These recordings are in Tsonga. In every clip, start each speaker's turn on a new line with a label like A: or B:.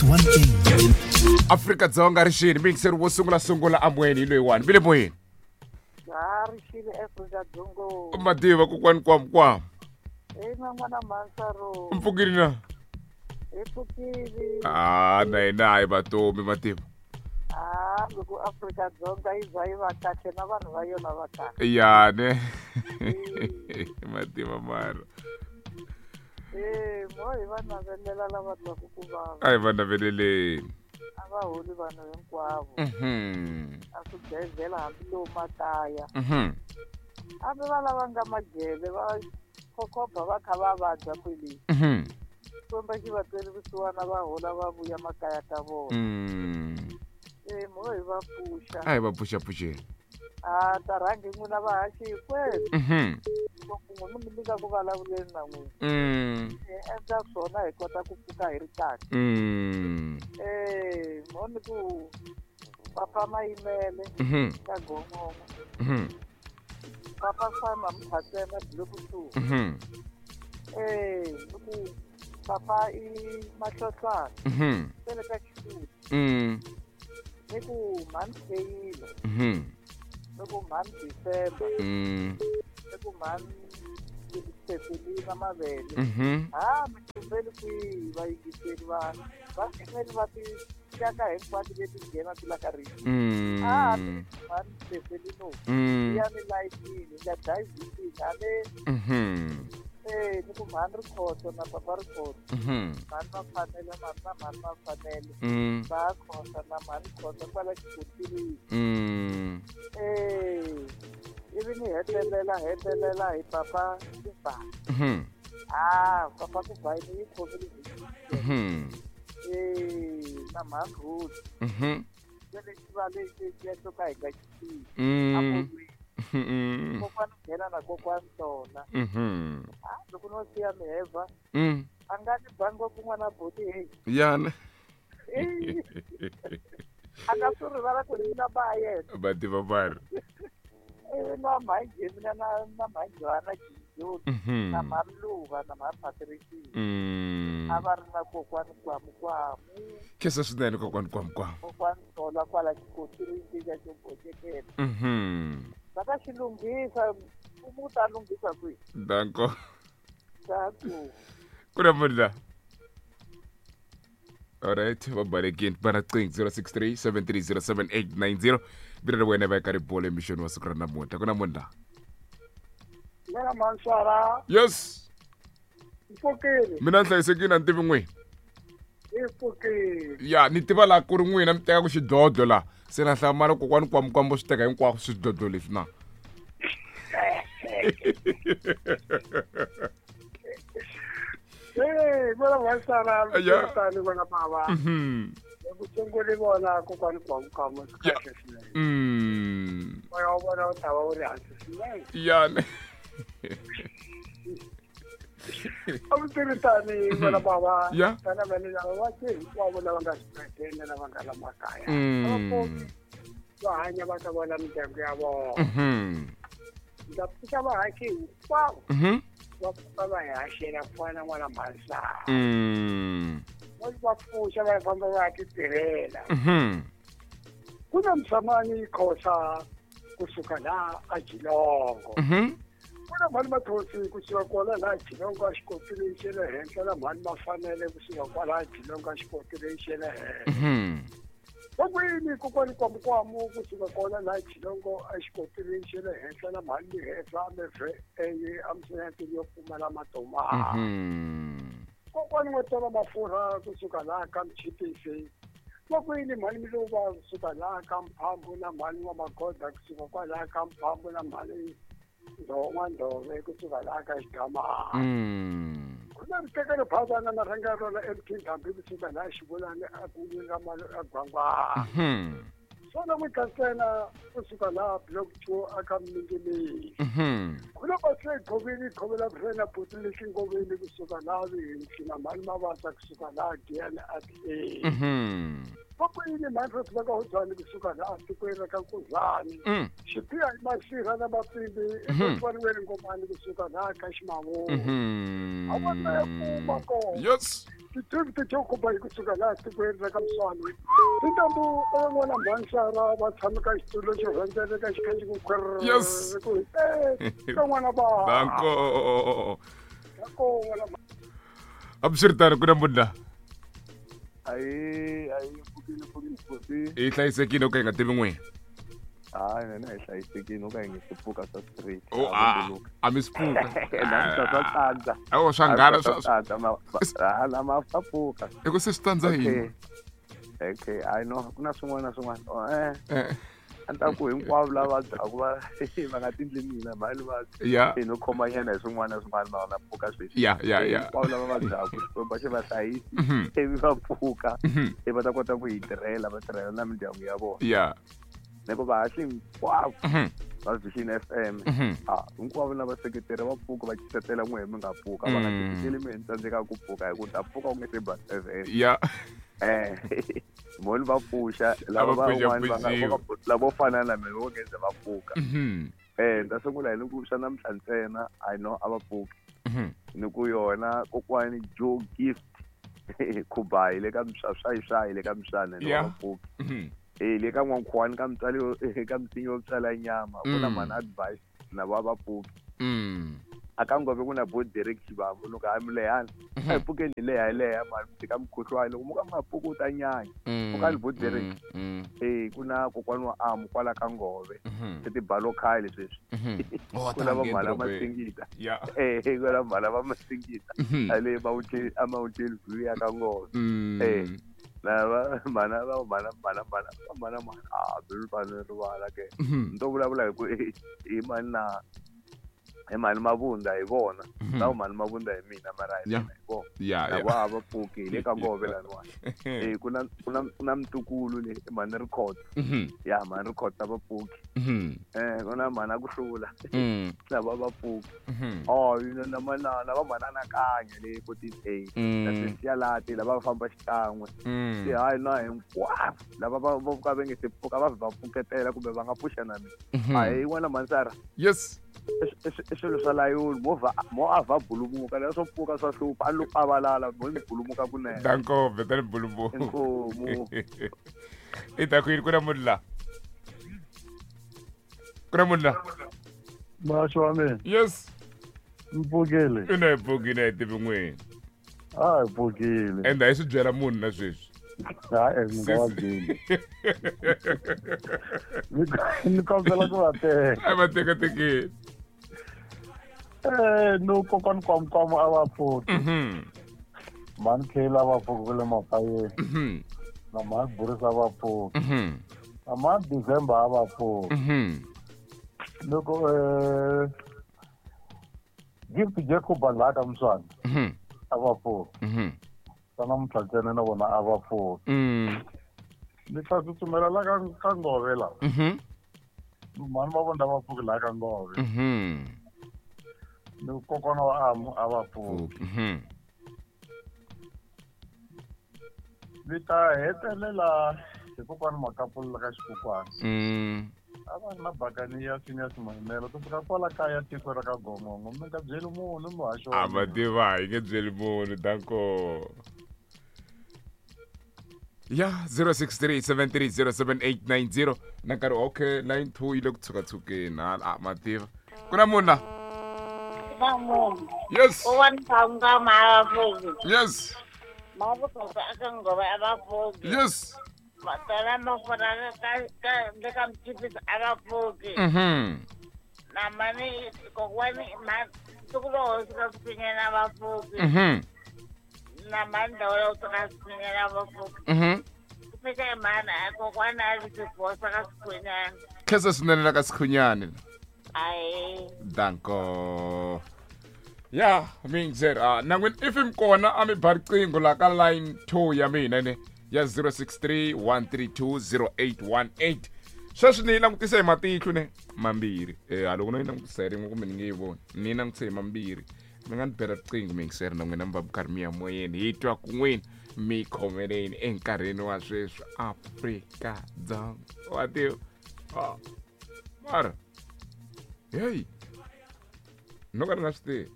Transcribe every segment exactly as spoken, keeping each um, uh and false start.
A: one thing.
B: Afrika Dzonga rixini mixer wo sungula sungula amweni hi loyiwani mi le moyeni.
C: Ha rixini Afrika Dzongo.
B: Mativa kokwani kwam kwam.
C: Ina n'wana Mansaro.
B: Mpfukile na?
C: Hi pfukile.
B: Ah, na hina hayi vatomi mativa.
C: Ah, loko Afrika Dzonga yi za yi va kahle na vanhu va yona va kahle.
B: Ya ne. Mativa mara.
C: Eh, mo hi va navelela lava twaku ku vava.
B: A hi va naveleleni.
C: A va holi vanhu hinkwavo.
B: Mhm.
C: A swibedhlele hambi lowu makaya.
B: Mhm.
C: Hambi va lava nga majele va khokhoba va kha va vabya kwele.
B: Mhm.
C: Xikwembu xi va tweli vusiwana va hola va vuya makaya ka vona.
B: Mm.
C: Eh, mo hi va pfuxa.
B: A hi va pfuxapfuxeni.
C: Ah, ta rhangi n'wina vahaxi hinkwenu.
B: Mhm.
C: Loko n'wi mi nyika ku vulavuleni na n'wina.
B: Mm.
C: Hi endla swona hi kota ku pfuka hi ri kahle.
B: Mm.
C: Eh, mo ni ku papa Mayimele
B: Mhm.
C: ka Gongongo.
B: Mhm.
C: Papa Sama Mkhatsena Block two.
B: Mhm.
C: Eh, ni ku papa i Mahlohlwana.
B: Mhm.
C: Sele ka Xikuti.
B: Mm.
C: Ni ku mhani Feyila.
B: Mhm.
C: Ni ku mhani December.
B: Mm.
C: Ni ku mhani Cecilina Mavele.
B: Mhm.
C: Ha, mi tumbeli kwihi vayingiseri va va ngheneli va tinxaka hinkwato leti nghena ti la ka rito.
B: Mm.
C: Ah, mhani Cecilino.
B: Mm.
C: Ya ni layitini, nga dayivhitini, a le
B: Mhm.
C: eh ni ku mhani Rikhotso na papa Rikhotso.
B: Mhm.
C: Mhani Mafanele, mhani na mhani Mafanele.
B: Mm.
C: Va Khosa na mhani Khosa kwala Xikotirini.
B: Mm.
C: Eh, ivi ni hetelela hetelela hi papa Kuba.
B: Mhm.
C: Ah, papa Kuba ni yi khomile.
B: Mhm.
C: Eh, na mhani Ruth.
B: Mhm.
C: Se lexi va lexi xexo ka hi nga xi tivi.
B: Mm.
C: A molweni.
B: Mhm.
C: Kokwani nghena na kokwani tona.
B: Mhm.
C: Ah, loko no siya miheva,
B: Mm.
C: a nga ni ba ngopfu n'wana buti heyi.
B: Yana.
C: Eh. A nga swi rivala ku ni na ba yena.
B: Mativa mara.
C: Ivi na mhani Jemina na na mhani Johanna Jijoni.
B: Mhm.
C: Na mhani Luva na mhani Patricia.
B: Mm.
C: A va ri na kokwani Kwamukwamu.
B: Khensa swinene kokwani Kwamukwamu.
C: Kokwani Tola kwala Xikotirini xa xo boxekela.
B: Mhm.
C: Va ta xi lunghisa, mfumo wu ta lunghisa kwihi?
B: Danko.
C: Danko.
B: Ku na munhu la. Alright, va balekile va na qingho zero six three seven three zero seven eight nine zero. Vito ra wena va ka ribolo emixweni wa siku ra namuntlha. Ku na munhu la.
D: Mina Mansara.
B: Yes.
D: Mpfukile.
B: Mina ni hlayisekile a ni tivi n'wina.
D: Hi pfukile.
B: Ya, ni tiva laha ku ri n'wina mi tekaka xidlodlo laha. Se na hlamala kokwani Kwamukwamu swi teka hinkwako swidlodlo leswi na.
D: Eh, vona Mansara,
B: Ya.
D: tani vona bava.
B: Mhm.
D: Ku sungule vona kokwani Kwamukwamu swi kahle swinene.
B: Mm.
D: Moya wa vona wu ta va wu ri hansi swinene.
B: Ya.
D: A mi tirhi tani vona bava.
B: Ya.
D: Tana vana lava va te hinkwavo lava nga swibedhlele lava nga la makaya.
B: Mm.
D: A va pfuki va hanya va ta vona mindyangu ya vona.
B: Mhm.
D: Ndza pfuka va haxe hinkwavo.
B: Mhm.
D: Va pfuka va hi haxela ku fana na n'wana Mhansana.
B: Mm.
D: Va va pfuxa va famba va ya titirhela.
B: Mhm.
D: Ku na Msamani Khosa kusuka laha a Jilongo.
B: Mhm.
D: Ku na mhani Mathosi kusuka kwala laha Jilongo a xikotirini xa le henhla na mhani Mafanele kusuka kwala Jilongo a xikotirini xa le henhla.
B: Mhm.
D: Va kwini kokwani Kwamukwamu kusuka kwala laha Jilongo a xikotirini xa le henhla na mhani Mihehla mevhe eye emisinyatini yo pfumala matomani.
B: Mhm.
D: Kokwani N'wetola Mafurha kusuka laha ka Mchipisi. Va kwini mhani Miluva kusuka laha ka Mphambu na mhani wa Magoda kusuka kwalaha ka Mphambu na mhani N'wandhove kusuka laha ka Xigamana.
B: Mm.
D: Ku na ritekelo phazana na rhanga rona M T Ndhambi kusuka laha Xivulani a kun'wini ra Malo a Gwangwana.
B: Mhm.
D: Swona n'wi ntsena kusuka laha Block two aka Mingimingi.
B: Mhm.
D: Ku na Basle Ghoveni Ghovela Brena Buti lexi Ngoveni kusuka laha Vihimsi na mhani Mavasa kusuka laha Giyani a A.
B: Mhm.
D: Va kwini mhani Rose va ka Hodzani kusuka laha tikweni ra ka Nkuzani.
B: Mm.
D: Xipiya hi Masirha na Mapimbi
B: Mhm.
D: eMotwaniweni Ngomani kusuka laha ka Ximavulu.
B: Mhm.
D: A va na ya kuma kona.
B: Yes.
D: David Jacob kusuka laha tikweni ra ka Mswani. Tintambu ta n'wana Mhansara va tshama ka xitulu xo rhendzeleka xi kha xi ku khwerr.
B: Yes.
D: Ku eh ka n'wana ba.
B: Danko.
D: Danko n'wana.
B: Absirtano ku na munhu.
A: Ayi ayi pfukile pfukile pfuki.
B: I hlayisekile u ka yi nga tivi n'wina.
A: Hayi mina hi hlayisekile u ka yi nga si pfuka swa straight.
B: Oh a a mi swi pfuka.
A: Na swa tsandza.
B: Awu swa nghana swa
A: tsandza ma hala ma swa pfuka.
B: I ku se swi tsandza yini?
A: Okay, I know ku na swin'wana na swin'wana. Oh eh. A ni ta ku hinkwavo lava vabyaku va va nga tindli mina mali va
B: ya
A: no khomanyana hi swin'wana na swin'wana ma na pfuka sweswi.
B: Ya ya ya.
A: Hinkwavo lava vabyaku Xikwembu xi va hlayisi ivi va pfuka ivi va ta kota ku hi tirhela va tirhela na mindyangu ya vona.
B: Ya.
A: Ni ku vahaxi hinkwavo va Vision F M a hinkwavo na vaseketeri va pfuka va cisetela n'we mi nga pfuka va nga ciseteli mi ni tsandzeka ku pfuka hi ku ta pfuka u nge se ba seven.
B: Ya.
A: Eh moni va pfuxa lava van'wana va nga lavo fana na mina vo nge se va pfuka. Eh nda sungula hi ni ku swa namuntlha ntsena I know a va pfuki. Ni ku yona kokwani Joe Gift Khubayi le ka Mswaswayi le ka Mswana ni va pfuki. Eh le ka n'wankhuwani ka mutswari ka mutsinyi wo tswala nyama ku na mhani advice na va va pfuki. A ka ngove ku na bo Derek Xivambu loko a mi lehana a hi pfukeni hi leha hi leha mani ka mukhuhlwani loko mo ka mi nga pfuki u ta nyanya pfukani bo Derek. Eh ku na kokwani wa Amu kwala ka Ngove se tibalo khale sweswi ku na va mhala Masingita. Eh ku na mhala va Masingita a le Mountain a Mountain View ya ka Ngove. Eh lava mana va mana mana mana mana mana a bi va rivala ke ni to vulavula hi ku hi mani na hi mani Mavunda hi vona na mani Mavunda hi mina mara hi mina hi vona na va va pfuki hi le ka Ngove laniwani. Eh ku na ku na ku na mtukulu le mani Rikhotso ya mani Rikhotso va pfuki. Eh ku na mhana ku hlula na va va pfuki. Oh na manana va manana kanya le forty-eight na Cynthia Lati lava va famba xikan'we. Se hayi na hinkwavo lava va va ka va nge se pfuka va va pfuketela kumbe va nga pfuxa na mina. A hi n'wana Mansara.
B: Yes.
A: I swilo swa layoni movha mo a va bulumuka leswo pfuka swa hlupha a lo pavalala mo ni bulumuka kunene.
B: Danko vetani bulumuka.
A: Inkomu.
B: I ta ku yini ku na munhu la? Ku na munhu la?
E: Maxo wa mina.
B: Yes.
E: Mpfukile.
B: I na hi pfukile hi tivi n'wini.
E: A hi pfukile.
B: Ende a hi swi byela munhu na sweswi.
E: Hayi mi nga va byeli. Ni kombela ku va teka.
B: A va tekatekeni.
E: Eh no kokwani Kwamkwama a va pfuki. Mhani Khela a va pfuki ku le Mapayeni. Na mhani Burisa a va pfuki. Na mhani December a va pfuki. Loko eh Gift Jacob laha ka Mswana a va pfuki. Swa namuntlha ntsena na vona a va pfuki. Ni ta tsutsumela la ka ka Ngove la. Mhani Mavunda va pfuki laha ka Ngove. Ni kokwana wa Amu a va pfuki. Ni ta hetelela hi kokwana Makapula ka Xikukwana. A va ri na bakani ya Senior Mayimela ku suka kwala kaya tiko ra ka Gongongo mi nga byeli munhu muhaxi wa
B: A va tiva hi nge byeli munhu danko. Ya zero six three seven three zero seven eight nine zero na nkarhi okay line two yi le ku tshukatshukeni hala ma tiva. Ku na munhu la? Yes. Yes. Yes. Mhm. Mhm. Mhm. Khensa swinene la ka Sikhunyani. Danko. Ya mingzer a na n'wina if mi kona a mi ba riqingho la ka line two ya mina ne ya zero six three one three two zero eight one eight. Sweswi ni yi langutisa hi matihlo ne mambirhi. Eh a loko no yi langutisa hi rin'we kumbe ni nge yi voni. Ni yi langutise hi mambirhi. Mi nga ni bela riqingho mingzer na n'wina mi va mi karhi mi ya moyeni hi twa kun'wini mi khomeleni enkarhini wa sweswi Afrika-Dzonga. Wa tiva? Ah. Mara. Hey. No ka ni nga swi tivi.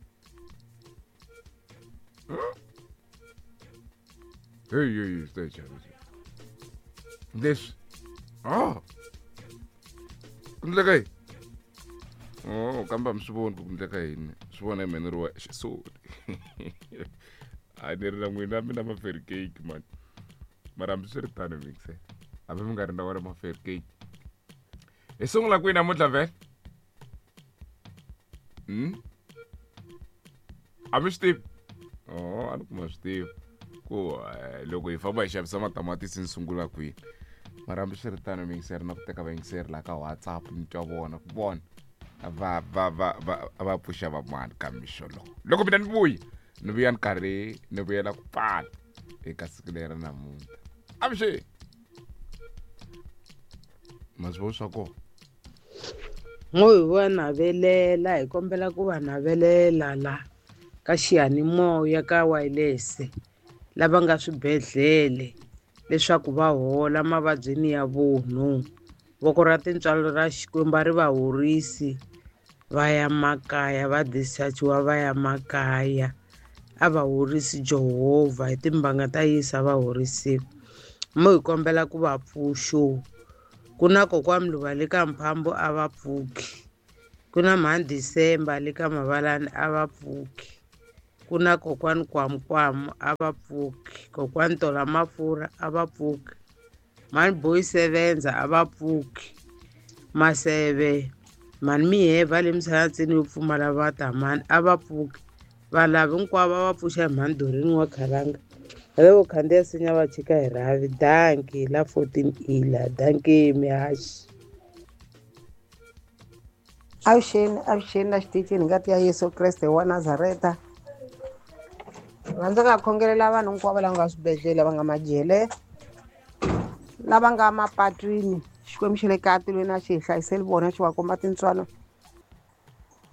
B: Hey hey hey leswi ah ku ndleka yini? Oh kambe a mi swi voni ku ku ndleka yini, swi vona hi mina ni ri wexe, sorry. A ni ri na n'wina mi na ma-fair cake mani, mara hambiswiritano mixer hambi mi nga ri na wona ma-fair cake. Hi sungula kwihi namuntlha vhele? Hmm? A mi swi tivi? Oh a ni kuma swi tivi ku loko hi famba hi xavisa matamatisi ni sungula kwihi. Mara hambiswiritano mixer na ku teka vayingiseri laha ka WhatsApp ni twa vona ku vona va va va va va pfuxa van'wana ka mixo lowu. Loko mina ni vuya ni vuya ni karhi ni vuyela ku pfala eka siku leri namuntlha. Avuxeni ma swi vona swa kona.
F: Ngo hi va navelela, hi kombela ku va navelela la ka xiyanimoya ka wireless lava nga swibedhlele leswaku va hola mavabyini ya vunhu. Voko ra tintswalo ra Xikwembu a ri va horisi va ya makaya, va dischargiwa va ya makaya. A va horisi Jehovha hi timbanga ta Yesu a va horisiwi. Mo hi kombela ku va pfuxo. Ku na kokwani Mluva le ka Mphambo a va pfuki, ku na mhani December le ka Mavalani a va pfuki, ku na kokwani Kwamukwamu a va pfuki, kokwani Tola Mafurha a va pfuki, mhani Boy Sevenza a va pfuki, Maseve mhani Miheva le Msalatsini yo pfumala vatamani a va pfuki, valavi hinkwavo a va pfuxa hi mhani Dorini wa Khalanga. Loko khandziya sinya va chika hi rhavi. Danki la fourteen ila danki mihaxi.
G: Avuxeni avuxeni la xitichini ngati ya Yesu Kreste wa Nazareta. Rhandza ka khongelela vanhu hinkwavo lava nga swibedhlele, va nga majele, lava nga mapatwini. Xikwembu xa le ka tilweni a xi hi hlayiseli vona, xi va komba tintswalo.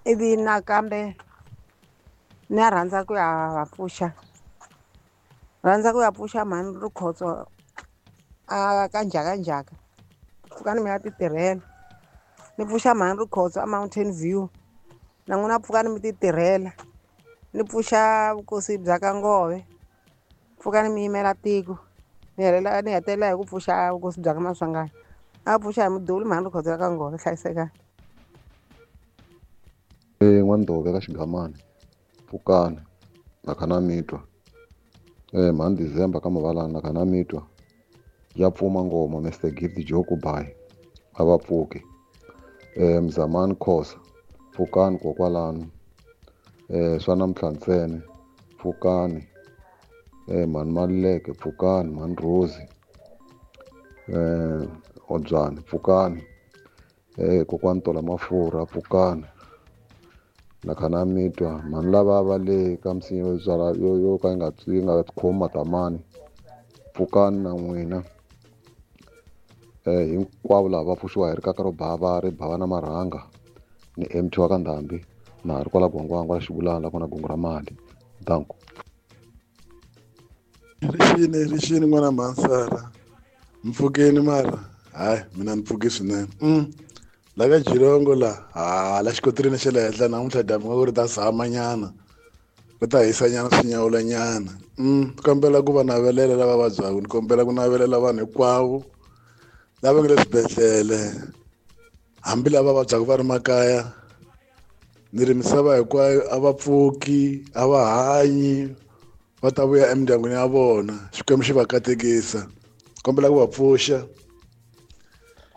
G: Ivi nakambe ni ya rhandza ku ya va pfuxa, rhandza ku ya pfuxa mhani Rikhotso a ka njhakanjhaka, pfukani mi ya ti tirhela. Ni pfuxa mhani Rikhotso a Mountain View, na n'wina pfukani mi ti tirhela. Ni pfuxa vukosi bya ka Ngove, pfukani mi yimela tiko. Ni helela ni hetelela hi ku pfuxa vukosi bya ka Maswanganyi. A pfuxa hi muduli mhani Rikhotso ya ka Ngove, hlayisekani.
H: E n'waNdove ka Xigamani, pfukani na kha na mi twa. Eh mhani December ka Mavalani na kha na mi twa. Ya pfuma ngoma Mister Gift Joku Bai a va pfuki. Eh Mzamani Khosa pfukani kokwalano. Eh swa namuntlha ntsena pfukani. Eh mhani Maluleke pfukani, mhani Rose eh Odzwani pfukani. Eh kokwani Tola Mafurha pfukani. Na kha na mi twa mhani lava va le ka misinya yo byala yo yo ka yi nga yi nga khomi matamani pfukani na n'wina. Eh hinkwavo lava va pfuxiwa hi rikaka ro bava ri bava na marhanga ni M T wa ka Ndhambi na ha ri kwala Gwangwangwa la Xivulana la kona gungu ra mali. Danko.
I: Rixini rixini n'wana Mansara, mpfukeni mara hayi mina ni pfuki swinene. Mm. La ka Jirongo la ha la xikotirini xa le henhla namuntlha dyambu nga ku ri ta zama nyana, ri ta hisa nyana swi nyawula nyana. Mm, kombela ku va navelela lava vabyaka, ni kombela ku navelela vanhu hinkwavo lava nga le swibedhlele, hambi lava vabyaka va ri makaya. Ni ri misava hinkwayo a va pfuki, a va hanyi, va ta vuya emindyangwini ya vona. Xikwembu xi va katekisa. Kombela ku va pfuxa.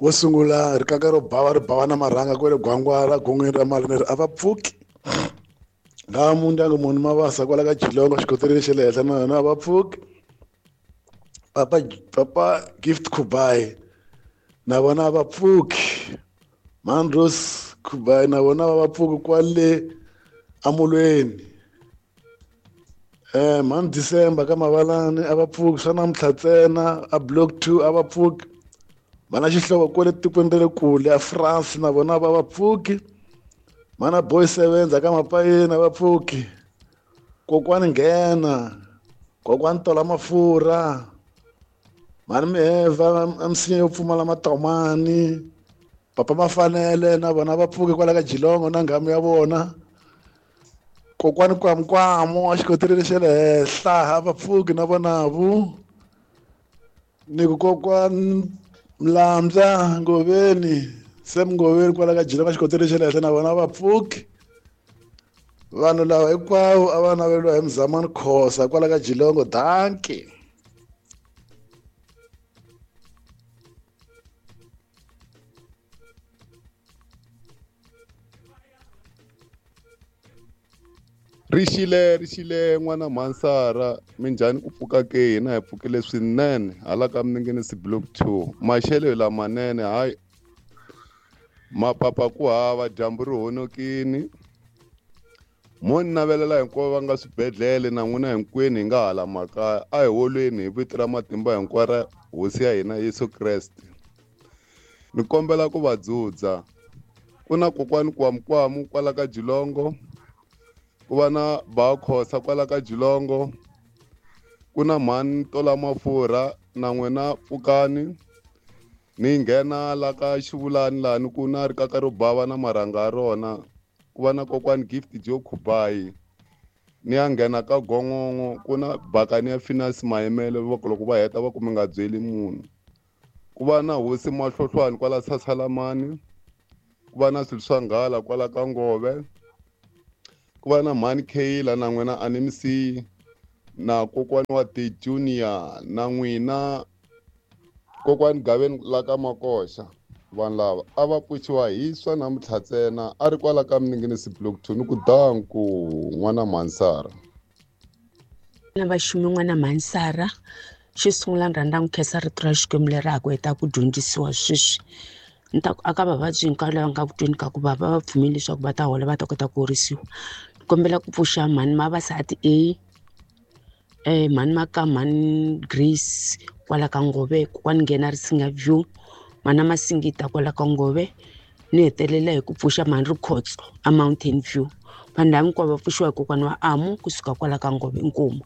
I: Wo sungula rikaka ro bava ri bava na marhanga kwale Gwangwala gongweni ra mali ni ri a va pfuki. Nga mundyangu munhu Mavasa kwala ka Jilongo xikoteleni xa le henhla na yona a va pfuki. Papa papa Gift Kubai na vona a va pfuki. Mandros Kubai na vona va pfuki kwale amulweni. Eh mhani December ka Mavalani a va pfuki, swa namuntlha ntsena a block two a va pfuki. Vana xihlovo kwale tikweni ra le kule a France na vona va va pfuki. Mana Boy Sevenza ka Mapayeni a va pfuki. Kokwani Nghena, kokwani Tola Mafurha, mhani Miheva a misinya yo pfumala matomani, papa Mafanele na vona va pfuki kwala ka Jilongo na nghamu ya vona. Kokwani Kwamukwamu a xikoteleni xa le henhla a va pfuki na vona vu. Ni ku kokwani Mlamza Ngoveni Sam Ngoveni kwala ka Jilongo xikoteleni xa le henhla na vona a va pfuki. Vanhu lava hinkwavo a va naveliwa hi Mzamani Khosa kwala ka Jilongo. Dankie.
J: Rixile rixile n'wana Mansara minjhani ku pfuka ke hina hi pfukile swinene hala ka Miningini block two maxelo hi lamanene hayi mapapa ku hava dyambu ri honokini mo ni navelela hinkwavo va nga swibedhlele na n'wina hinkwenu hi nga hala makaya a hi holweni hi vito ra matimba hinkwaro ra hosi ya hina Yesu Kreste ni kombela ku va dzudza ku na kokwani Kwamukwamu kwala ka Jilongo ku va na Bakhosa kwala ka Jilongo ku na mhani Tola Mafurha na n'wina pfukani ni nghena la ka Xivulani lani ku na rikaka ro bava na marhanga ya rona ku va na kokwani Gift Joe Khubayi ni ya nghena ka Gongongo ku na bakani ya Finance Mayimele va ku loko va heta va ku mi nga byeli munhu ku va na hosi Mahlohlwani kwala Sasalamani ku va na swilo swa nghala kwala ka Ngove ku va na mhani Kayla na n'wina a ni mi siyi na kokwani wa The Junior na n'wina kokwani Gaveni la ka Makoxa vanhu lava a va pfuxiwa hi swa namuntlha ntsena a ri kwala ka Miningini block two ni ku danku n'wana Mansara
F: na vaxumi n'wana Mansara xo sungula ni rhandza ku khensa rito ra Xikwembu leri ha ku heta ku dyondzisiwa sweswi ni ta ku aka vavabyi hinkwavo lava nga ku tweni ka ku vava va pfumeli leswaku va ta hola va ta kota ku horisiwa ni kombela ku pfuxa mhani Mavasati A eh mhani Maka mhani Grace kwala ka Ngove kokwani nghena Risinga View mana Masingita kwala ka Ngove ni hetelela hi ku pfuxa mhani Rikhotso a Mountain View vanhu lava hinkwavo va pfuxiwa hi kokwana wa Amu kusuka kwala ka Ngove inkomu.